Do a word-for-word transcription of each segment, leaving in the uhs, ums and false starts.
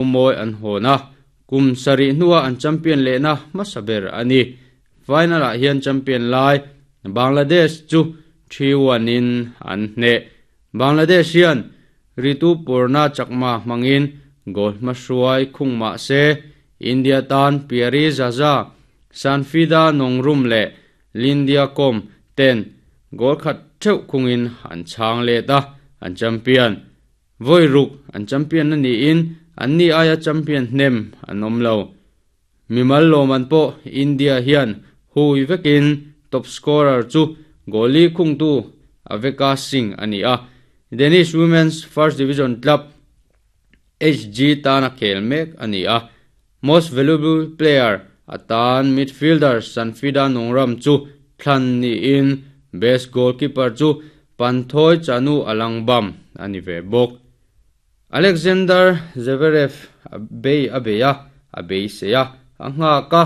Mawi an hawn a, kum sarih hnuah an champion lehna hmasa ber a ni. Final-ah hian champion lai Bangladesh chu three one in an hneh. Bangladesh hian Ritu Purna Chakma hmangin goal hmahruai khung mah se India tan Pyari Zaza, Sanfida Nongrum leh Lindia Kom ten goal khat theuh khungin an chhang let a, an champion. Vawi ruk an champion a niin an ni aia champion hnem an awm lo. Mimal lawm an pawh India hian hui vekin top scorer chu goali khungtu Aveka Singh a ni a. Danish Women's First Division Club H G tan a khel mek a ni a. Most Valuable Player atan midfielder Sanfida Nongram chu thlan niin best goalkeeper chu Panthawi Chanu Alangbam a ni ve bawk. Alexander Zverev a bei a bei a, a bei sei a, a nghak a,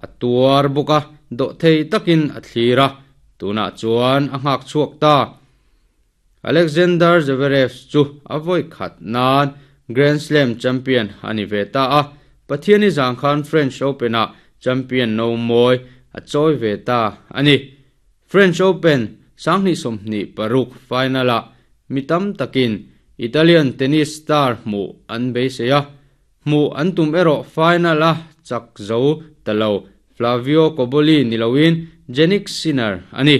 a tuar bawk a, dawh thei takin a thlir a, tunah chuan a nghak chhuak ta. Alexander Zverev chu a vawi khat nan Grand Slam champion a ni ve ta a, Pathiani zang khan French Open-ah champion no mawi a chawi ve ta a ni. French Open sanghnih sawmhnih paruk final-ah mi tam takin Italian tennis star hmuh an beisei a, hmuh an tum erawh final-a chak zo ta lo Flavio Cobolli ni loin Jannik Sinner a ni.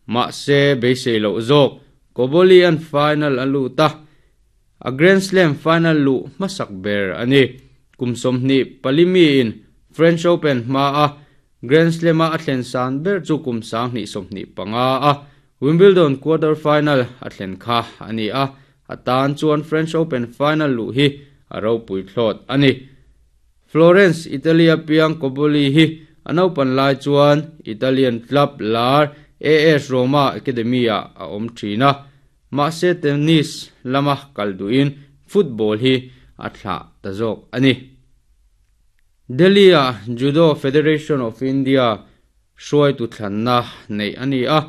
Mahse beisei loh zawk Cobolli an final a lut a, a Grand Slam final luh hmasak ber a ni. Kum sawmhnih palimi in French Open hma a Grand Slam-a a thlen san ber chu kum sanghnih sawmhnih panga a Wimbledon quarter final a thlen kha a ni a, a tan chuan French Open final luh hi a ropui thlawt a ni. Florence, Italy a piang Cobolli hi an open lai chuan Italian club lar A S Roma Academy a a awm thin a, mahse tennis lama kal duhin football hi a thlah ta zawk a ni. Delhi a Judo Federation of India hruai tu thlanna nei a ni a,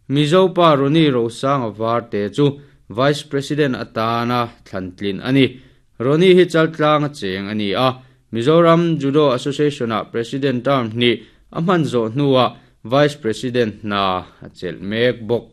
Mizopa Roni Rosanga Varte chu Vice President atana thlantlin a ni. Roni hi chaltlang a cheng a ni a, Mizoram Judo Association a President term ni a hman zawh hnuah Vice President na a chelh mek bawk.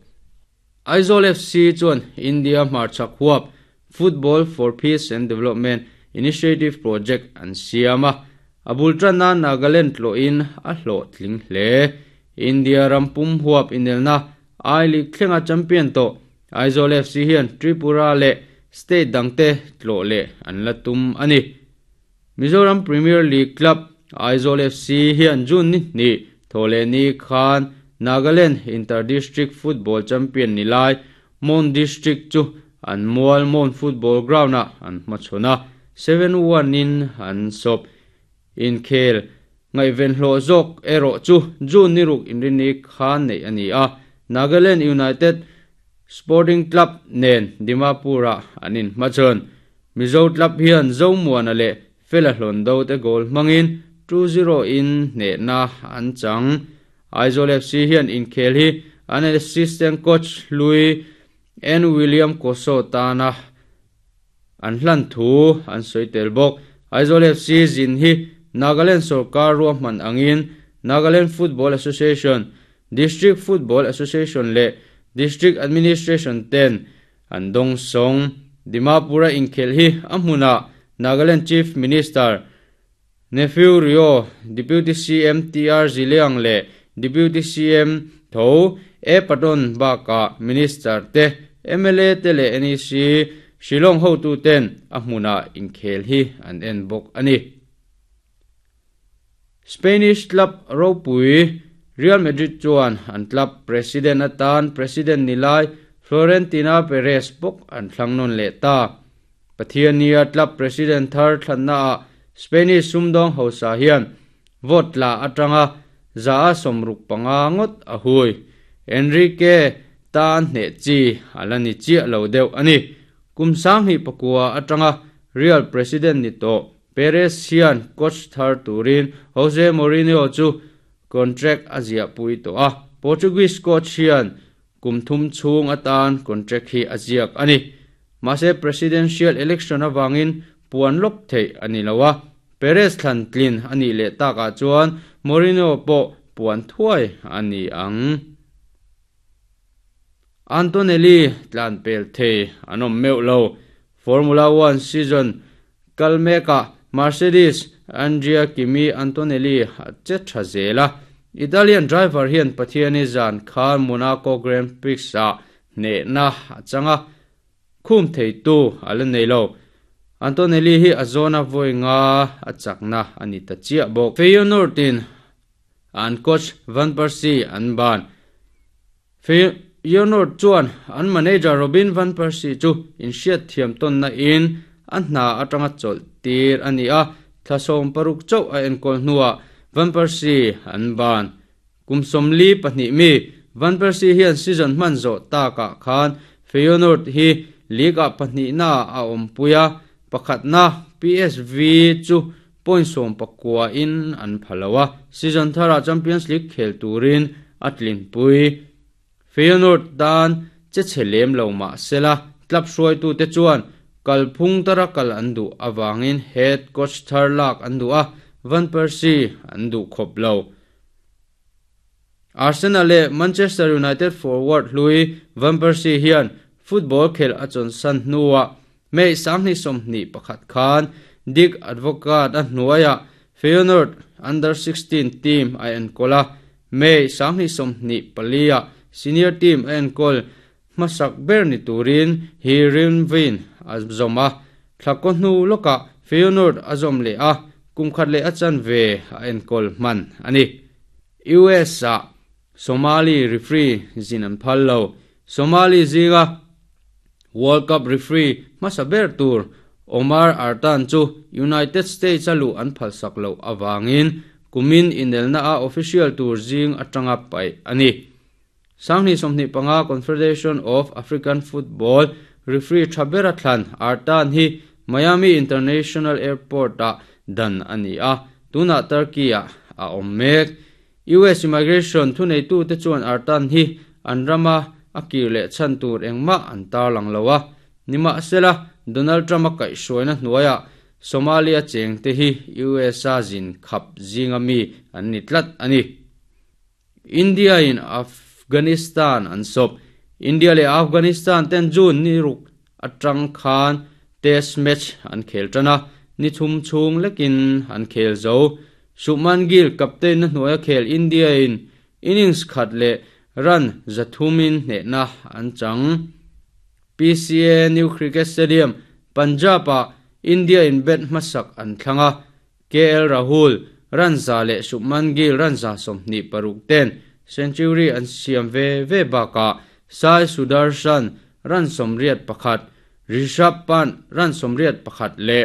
Aizawl F C chuan India hmarchhak huap Football for Peace and Development Initiative Project an siam a, a bul tana Nagaland tlawhin a hlawh tling hle. India rampum huap inelna I League thlenga champion to Aizawl F C hian Tripura leh state dangte tlawh leh an la tum a ni. Mizoram Premier League Club Aizawl F C hian June ni ni thawle ni khan Nagaland Inter-District Football Champion ni lai Mon District chu an mual Mon Football Ground a an hmachhawn a seven one in an sawp. Inkhel ngaihven hlawh zawk erawh chu June ni ruk inrini khan nei a ni a, Nagaland United Sporting Club nen Dimapur-ah an inhmachhawn. Mizo Club hian Zomuana leh Fela hlawn do te goal hmangin two zero in hnehna an chang. Aizawl F C hian inkhel hi an assistant coach Louis N William Koso tana an hlan thu an sawi tel bawk. Aizawl F C zin hi Nagaland Sarkar ruahman angin Nagaland Football Association, District Football Association leh District Administration ten an dawng sawng. Dimapura inkhel hi a hmunah Nagaland Chief Minister Neiphiu Rio, Deputy C M T R Zeliang leh Deputy C M Tho E Patton baka Minister te M L A te leh N E C Shillong ho tu ten a hmunah inkhel hi an en bawk a ni. Spanish club ropui Real Madrid chuan an club president atan president nilai Florentina Perez bawk an thlang nawn leh ta. Pathiania club president thar thlanna a Spanish sumdawng hausa hian vote la atanga za a sawmruk panga ngawt a hui. Enrique tan hne chi ala ni chiah lo deuh a ni. Kum sanghnih pakua atanga Real president ni tawh Perez hian coach thar turin Jose Mourinho chu contract a ziah pui tawh a. Portuguese coach hian kum thum chhung atan contract hi a ziak a ni. Mahse presidential election awangin puan lok thei ani lowa Perez thlan tlin ani le taka chuan Mourinho pawh puan thuai ani ang. Antonelli tlan pel thei anom meu lo. Formula one season kalmeka Mercedes Andrea Kimi Antonelli che tha zela. Italian driver hian Pathiani zan khan Monaco Grand Prix a ne na changa khum thei tu ala nei lo. Antonelli hi azona voinga achakna ani ta chia bok. Feyenoord in an coach Van Persie an ban. Feyenoord chuan an manager Robin Van Persie chu in hriat thiam ton na in an hna atanga chol tir ani a thlasom paruk chau a enkol hnuwa Van Persie an ban. Kumsomli pahnih mi Van Persie hian season hman zo ta ka khan Feyenoord hi liga pahnih na a awmpuia pakhat na P S V chu point som pakua in an phalawa season thara Champions League khel turin atlin pui. Feyenoord dan che chelem lo ma sela club hruai tu te chuan kalphung tara kal an du awangin head coach thar lak an du a Van Persie an du khop lo. Arsenal le Manchester United forward Louis Van Persie hian football khel achon san hnuwa mei sangni somni pakhat khan Dick Advocat a hnuaya Feyenoord under sixteen team a enkola mei sangni somni palia senior team a enkol masak ber ni turin Heerenveen azoma thlako hnu loka Feyenoord azom le a kumkhat le achan ve a enkol man ani. U S A Somali referee zinan phallo. Somali zinga World Cup referee masaber tur Omar Artan chu United States alu an phalsak lo awangin kumin inelna a official tur zing atanga pai ani. Sangni somni panga Confederation of African Football referee Thabera Thlan Artan hi Miami International Airport a dan ani a tuna Turkey a a ommek. U S Immigration thunei tu te chuan Artan hi anrama akir le chan tur engma an tar lang lowa nima sela Donald Trump a kai hruaina hnuaia Somalia cheng te hi U S A zin khap zinga mi an ni tlat ani. India in Afghanistan an sop. India le Afghanistan ten June ni ruk atang khan test match an khel tana ni thum chung lekin an khel zo. Shubman Gill captain na hnuaia khel India in innings khat le run zathumin hne na an chang. P C A New Cricket Stadium Punjab a India in bet hmasak an thlanga K L Rahul run za le Shubman Gill run za sawmhnih paruk ten century an siam ve ve baka Sai Sudarshan run sawmriat pakhat Rishabh Pant run sawmriat pakhat le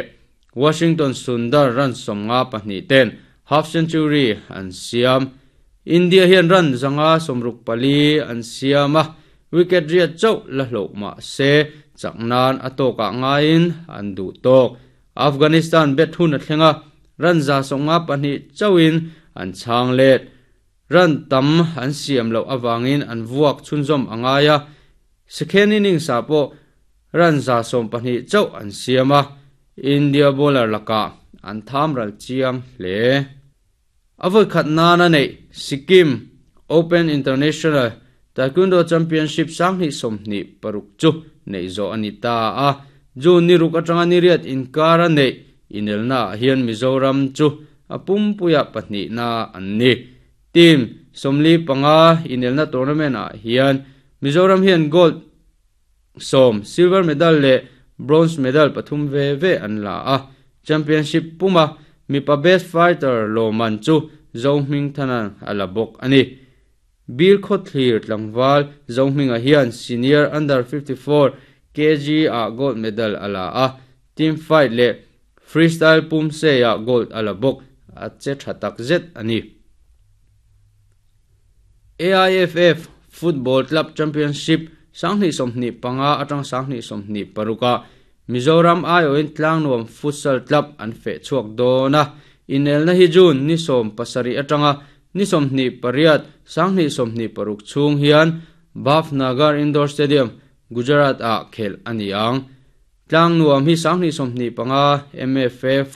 Washington Sundar run sawmnga pahnih ten half century an siam. India hian run zanga sawmruk pali an siama wicket riat chau la hlo ma se chaknan atoka ngain an du tok. Afghanistan bet hun a thlenga run za sawmnga pahnih chauin an chang let run tam an siam lo awangin an vuak chunzom angaya second inning sa po run za sawm pahnih chau an siama India bowler laka an tham ral chiang hle. Avoi khat na na nei Sikkim Open International Taekwondo Championship sangni somni paruk chu nei zo anita a June ni ruk atanga ni riat inkara nei inelna hian Mizoram chu apumpuya pahnih na anni. Team somli panga inelna tournament a hian Mizoram hian gold som silver medal le bronze medal pathum ve ve an la a championship puma mipa best fighter lo man chu Zohming thanan ala bok ani. Bir Khothlir tlangwal Zohming a hian senior under fifty-four kg a gold medal ala a team fight le freestyle pum se a gold ala bok a che thatak zet ani. A I F F Football Club Championship sangni somni panga atang sangni somni paruka Mizoram aioin Tlangnuam Futsal Club an fe chuak dona inelna hi June ni som pasari atanga ni somni pariat sangni somni paruk chung hian Bhavnagar Indoor Stadium Gujarat a khel aniang. Tlang nuam hi sang ni som ni panga M F A.